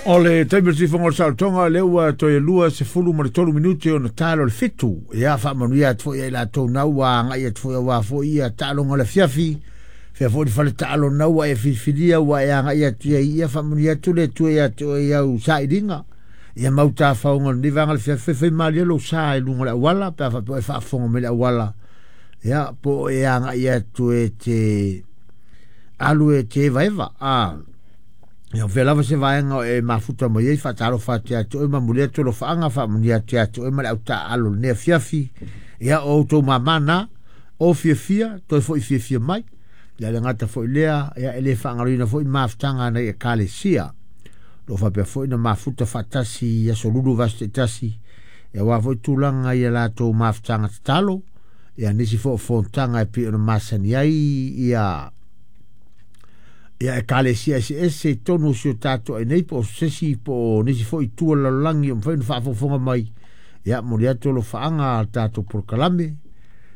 O le taimi o le tifoga o le saolotoga, lea ua toe 23 minute ona talo le 7. Ia, faamanuia atu foi ia i latou na ua agai atu foi aua foi ia taaloga o le afiafi. Fea foi le fale taalo na ua e filifilia ua e agai atu ai, ia faamanuia atu le Atua ia te oe i au sailiga. Ia mau tafaoga o lenei vaega o le afiafi, faifai malie lou sa i luga o le auala, pe a faapea e faafofoga mai le auala. Ia, po o e agai atu e te alu e te evaeva. Ia, o fea lava se vaega o e mafuta mai ai, faatalofa atu ia te oe ma momoli atu alofaaga, faamanuia atu ia te oe ma le autaaalo i lenei afiafi. Ia, o outou mamā na, o fiafia, toe foi fiafia mai. Ia, le gata foi lea, ia, e le faagaloina foi mafutaga a nai ekalesia. O lo o faapea foi na mafuta faatasi i aso lulu vaiaso taitasi, ia aua foi tulaga i a latou mafutaga tatalo, ia nisi foi o fonotaga e pei ona masani ai ia ia ekalesia eseese i totonu o si o tatou ai nei, po o se isi po o nisi foi itu o le lalolagi o mafai ona faafogafoga mai. Ia, momoli atu alofaaga a le tatou polokalame,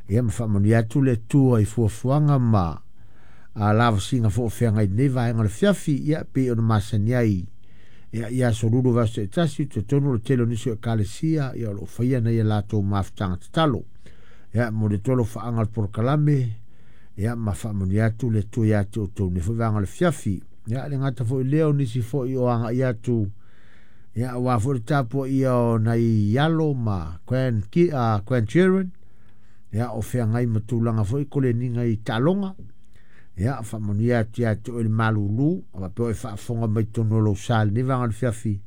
ia ma faamanuia atu le Atua i fuafuaga ma lavasiga foi o feagai i lenei vaega o le afiafi. Ia, pei ona masani ai, ia, i aso lulu vaiaso taitasi, talitonu o le tele o nisi o ekalesia, ia, o lo o faia nai a latou mafutaga tatalo. Ia, momoli atu alofaaga o le polokalame, ia, ma faamanuia atu le Atua ia te outou nei foi vaega o le afiafi. Ia, le gata foi lea o nisi foi o agai atu, ia, aua foi le tapuaia o nai alo ma grandchildren, ia, o feagai ma tulaga foi koleniga i taaloga. Ia, faamanuia atu ia te oe le malulu, a faapea o e faafofoga mai totonu o lou sa i lenei vaega o le afiafi.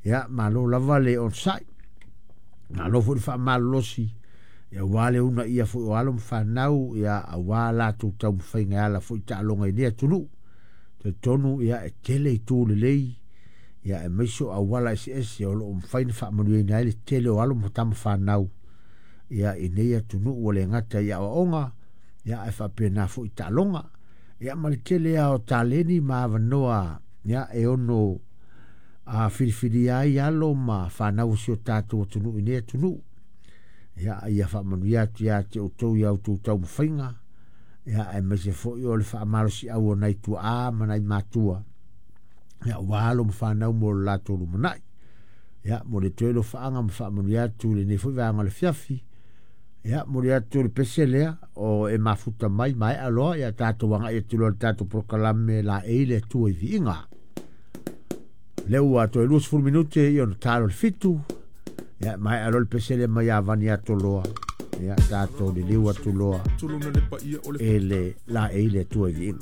Ia, malo lava le onosai, malo foi le faamalolosi, ia, aua le uunaia foi o alo ma fanau, ia, aua latou taumafaiga e ala foi i taaloga i nei atunuu. Talitonu, ia, e tele itu lelei, ia, aemaise o auala eseese o lo o mafai ona faamanuiaina ai le tele o alo ma tama fanau, ia, i nei atunuu, ua le gata i aoaoga, ia, ae faapena foi i taaloga. Ia, ma le tele lava o taleni ma avanoa, ia, e ono filifilia ai alo ma fanau o si o tatou atunuu i nei atunuu. Ia, ia faamanuia atu ia te outou i a outou taumafaiga, ia, aemaise foi o le faamalosiau o nai tuaa ma nai matua, ia, aua alo ma fanau mo le latou lumanai. Ia, momoli atu ai alofaaga ma faamanuia atu i lenei foi vaega o le afiafi. Ia, momoli atu le pese lea o e mafuta mai maea loa, ia tatou agai atu loa i le tatou polokalame laei le Atua i viiga. Lea ua toe 20 minute i ona talo le 7. Ia, maea loa le pese lea mai Avani Atoloa. Ia, tatou liliu atu loa e le laei le Atua i viiga.